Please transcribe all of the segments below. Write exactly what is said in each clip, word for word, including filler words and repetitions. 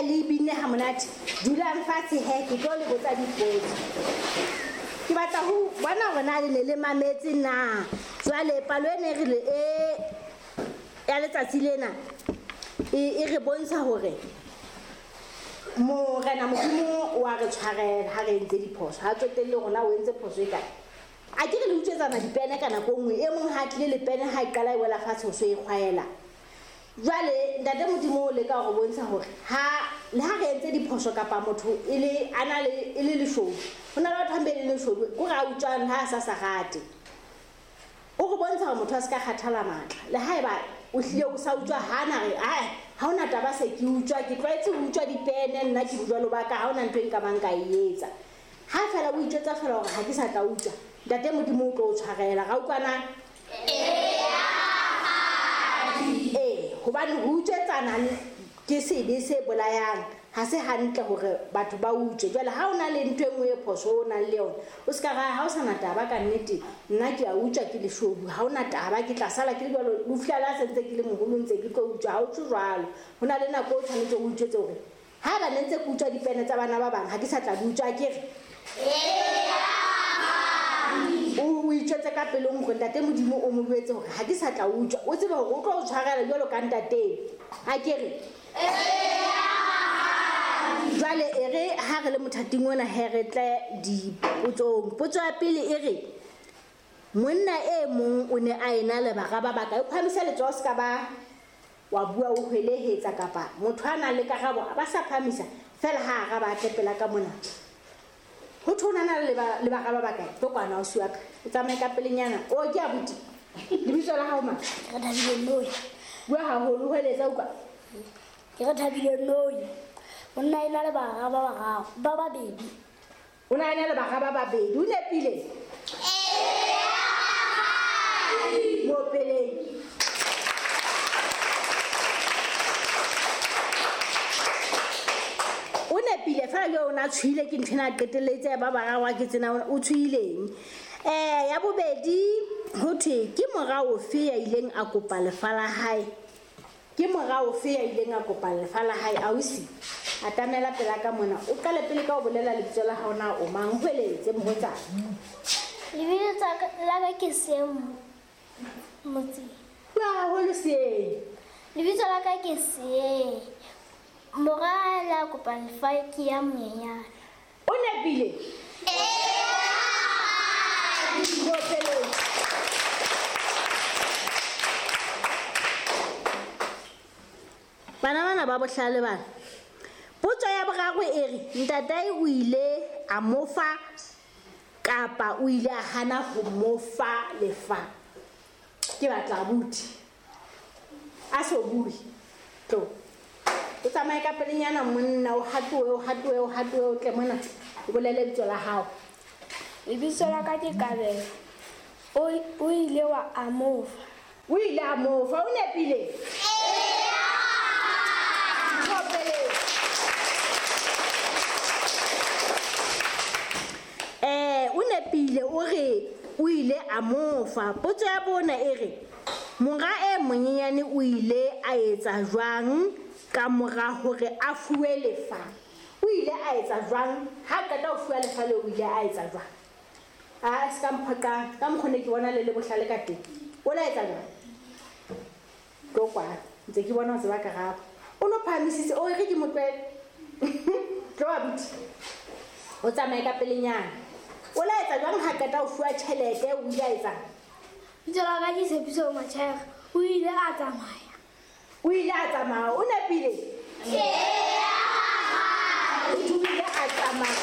le binne ha monate. Dulang fatshe he, ke tlo le botsa dipotso. Ke batla ho bona hore na le ne le mametse na. Jwale palo e ne re le e ya letsatsi lena e e re bontsha hore Morena Modimo wa re tshwarela ha re entse diphoso. Ha tsotelle rona o entse phoso e kae. A ke re le utswetsana dipene ka nako nngwe, e mong ha tlile le pene ha e qala e wela fatshe ho so e kgwaela. Jwale ntate Modimo o leka hore bontsha hore ha le ha re entse diphoso kapa motho e le a na le e le leshodu. Ho na le batho ba le leshodu ko re a utswang ha a sa sa rate. O re bontsha hore motho a se ka kgathala matla. Le haeba o hlile o sa utswa ha na re ai ha ona taba se ke utswa, ke tlwaetse ho utswa dipene nna ke bojwalo ba ka, ha ona ntho e nka bang ka e etsa. Ha fela o itjwetsa fela hore ha ke sa tla utswa, ntate Modimo o tlo o tshwarela. Ra utlwana? Ee, hobane ho utswetsana ke sebe se bolayang. Ha se hantle hore batho ba utswe. Jwale ha o na le ntho e nngwe e phoso o nang le yona, o ska ra ha o sana taba ka nnete, nna ke a utswa ke leshodu, ha ona taba ke tla sala ke le jwalo, ho fihla la se ntse ke le moholo ntse ke tlo utswa. Ha o tswe jwalo. Ho na le nako o tshwanetse o utswetse hore ha ba ne ntse ke utswa dipene tsa bana ba bang, ha ke sa tla di utswa, ke re o itjwetse ka pelong hore ntate Modimo o mo jwetse hore ha ke sa tla utswa. O tsebe hore o tlo o tshwarela jwalo ka ntate. Ha ke re jwale e re ha re le mothating ona he re tle dipotsong. Potso ya pele e re monna e mong o ne a ena le bara ba bakae? O phahamisa letsoho se ka ba wa bua o hwelehetsa kapa motho a nang le karabo a ba sa phahamisa fela ha araba a tle pela ka mona. Ho thwe o na le le bara ba bakae? Tlo kwana o siwa ka. O tsamaye ka pelenyana. O ke abuti. Lebitso la hao mang? Ke Thabile Noi. Bua haholo hweletsa utlwa. Ke Thabile Noi. Monna ena le bara ba bararo, ba babedi. O na ena le bara ba babedi. O nepile? Ee. Mo peleng. O nepile fela jwale o na tshwile ke ntho ena a qetelletse ba bararo ke tsena o tshwileng. Eh ya bobedi ho thwe ke mora ofe ya ileng a kopa lefa la hae? Ke mora ofe ya ileng a kopa lefa la hae ausi? Atamela pela ka mona. O qale pele ka ho bolela lebitso la hao na o mang, hweletse mohotsana. Lebitso la ka ke Seeng Motseng. Bua haholo Seeng. Lebitso la ka ke Seeng. Mora la kopa lefa ke ya monyenyane. O nepile? Ee. Bana bana ba bohlale bana. Potso ya boraro e re ntatae o ile a mo fa kapa o ile a hana ho mo fa lefa? Ke batla abuti. A so bue. Tlo. O tsamaye ka pelenyana monna, o hatoe, o hatoe, o hatoe, o tle mona. O bolele lebitso la hao. Lebitso la ka ke Kabelo. O o ile wa a mo fa. O ile a mo fa, o nepile? Ee. Eh, o nepile o re o ile a mo fa. Potso ya bona e re mora e monyenyane o ile a etsa jwang ka mora hore a fuwe lefa? O ile a etsa jwang ha qeta ho fuwa lefa le o ile a etsa jwang? A se ka mphoqa ka mokgwa ne ke bona le le bohlale ka teng. O la etsa jwang? Tlo kwa ntse ke bona o tseba karabo. O no phahamisitse o re ke motlwele. Tlo abuti. O tsamaye ka pelenyana. O la etsa jwang ha qeta ho fuwa tjhelete o ile a etsang? Lebitso la ka ke Tshepiso Matjhaere. O ile a tsamaya. O ile a tsamaya. O nepile? Ee. O ile a tsamaya.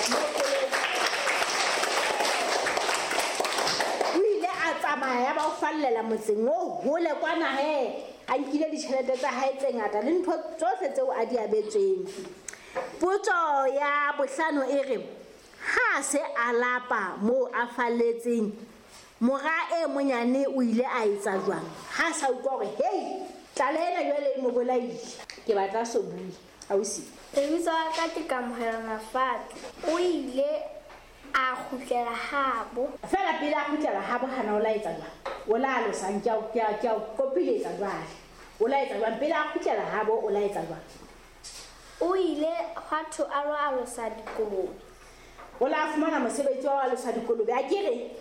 O ile a tsamaya ba o fallela motseng o hole kwana he. A nkile ditjhelete tsa hae tse ngata le ntho tsohle tseo a di abetsweng. Potso ya bohlano e re ha se a lapa moo a falletseng, mora e monyane o ile a etsa jwang? Ha sa utlwa hore hei tlala ena jwale e mo bolaile. Ke batla so bue ausi. Lebitso la ka ke Kamohelo Mafate. O ile a kgutlela habo. Fela pele a kgutlela habo hana o la etsa jwang? O la alosang ke a ke a ke a kopiletsa jwale. O la etsa jwang pele a kgutlela habo o la etsa jwang? O ile hwa thwe a lo alosa dikolobe. O la fumana mosebetsi wa ho alosa dikolobe a ke re?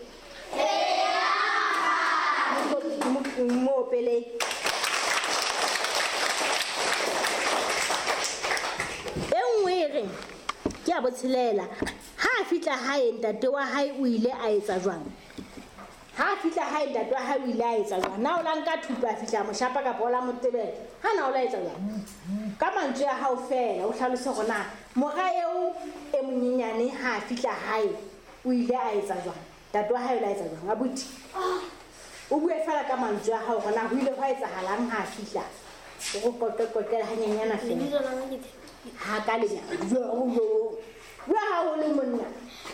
Mo opele. E nngwe e reng ke ya botshelela. Ha a fihla hae ntate wa hae o ile a etsa jwang? Ha a fihla hae ntate wa hae o ile a etsa jwang? Na o la nka thupa a fihla moshapa kapa o la mo tebela? Ha na o la etsa jwang? Ka mantswe a hao feela o hlalose hore na mora eo e monyenyane ha a fihla hae o ile a etsa jwang? Ntate wa hae o la etsa jwang? Abuti. O bue feela ka mantswe a hao hore na ho ile hwa etsahalang ha a fihla. O go qoqe-qoqele hanyenyana feela. Ha ka lenyana. Bua haholo monna.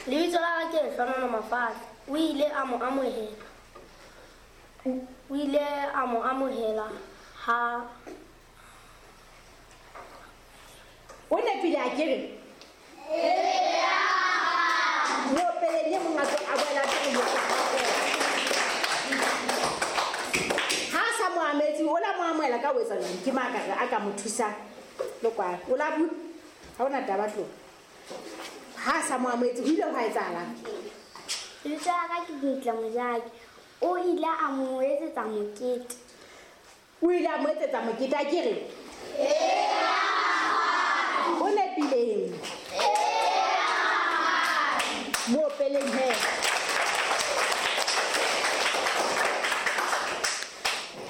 Lebitso la ka ke Lehlohonolo Mafahla. O ile a mo amohela. O ile a mo amohela ha o nepile a ke re? Mo opeleng e mong a tlo a boela a tlo Ha a sa mo ametse, o la mo amohela ka ho etsa jwang? Ke mang a ka re a ka mo thusang? Le kwano. O la bua? Ha hona taba tlo. Ha a sa mo amohetse, ho ile hwa etsahalang? Lebitso la ka ke Dintle Mojaki. O ile a mo etsetsa mokete. O ile a mo etsetsa mokete a ke re? O nepileng? Mo opeleng he.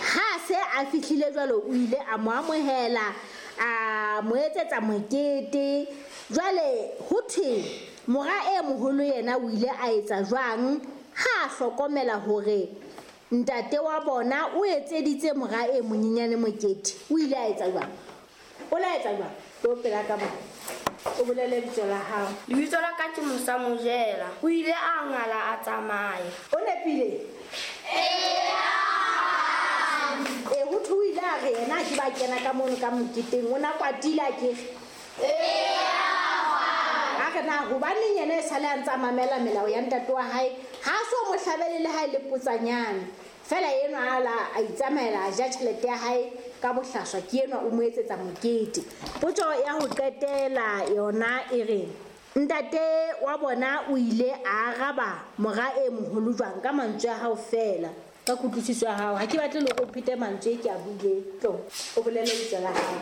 Ha se a fihlile jwalo o ile a mo amohela, a mo etsetsa mokete. Jwale ho thwe mora e moholo yena o ile a etsa jwang ha a hlokomela hore ntate wa bona o etseditse mora e monyenyane mokete? O ile a etsa jwang? O la etsa jwang? Tlo pela ka bona. O bolele lebitso la hao. Lebitso la ka ke Musa Mojela. O ile a ngala a tsamaya. O nepile? E ho thwe o ile a re yena ke ba kena ka mono ka moketeng o na kwatile a ke re? A re na hobaneng yena e sale a ntse a mamela melao ya ntate wa hae, ha a so mo hlabele le ha e le potsanyane. Feela enwa a la a itsamaela a ja tjhelete ya hae ka bohlaswa, ke enwa o mo etsetsa mokete. Potso ya ho qetela yona e re ntate wa bona o ile a araba mora e moholo jwang ka mantswe a hao feela? Ka kutlwisiso ya hao. Ha ke batle le hore o phete mantswe e ke a buileng. Tlo, o bolele lebitso la hao.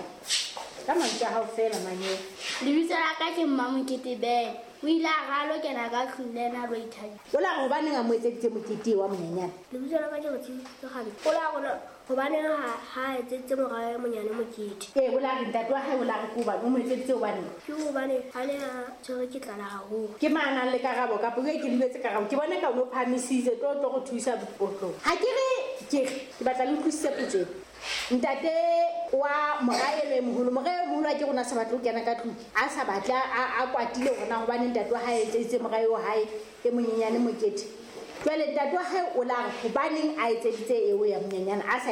Ka mantswe a hao feela manyeo. Lebitso la ka ke Mmamokete Ben. O ile a re a lo kena ka tlung le yena a lo ithabisa. O la re hobaneng a mo etseditse mokete wa monyenyane? Lebitso la ka ke Botshepiso Kgabetsa. O la re hobaneng ha, ha etseditse mora e monyane mokete? Ee, o la re ntate wa hae o la re ke hobane o mo etseditse hobaneng? Ke hobane a ne a tshwerwe ke tlala haholo. Ke mang a nang le karabo kapa e ke lebetse karabo? Ke bone ka o no phahamisitse tlo tlo go thusa potlong. Ha ke re ke re ke batla le utlwisise potso ena. Ntate wa mora eno e moholo, mora e moholo a ke rona sa batle ho kena ka tlung, a sa batle a, a kwatile hore na hobane ntate wa hae a etseditse mora eo hae e monyenyane mokete. Jwale ntate wa hae o la re hobaneng a etseditse eo ya monyenyane a sa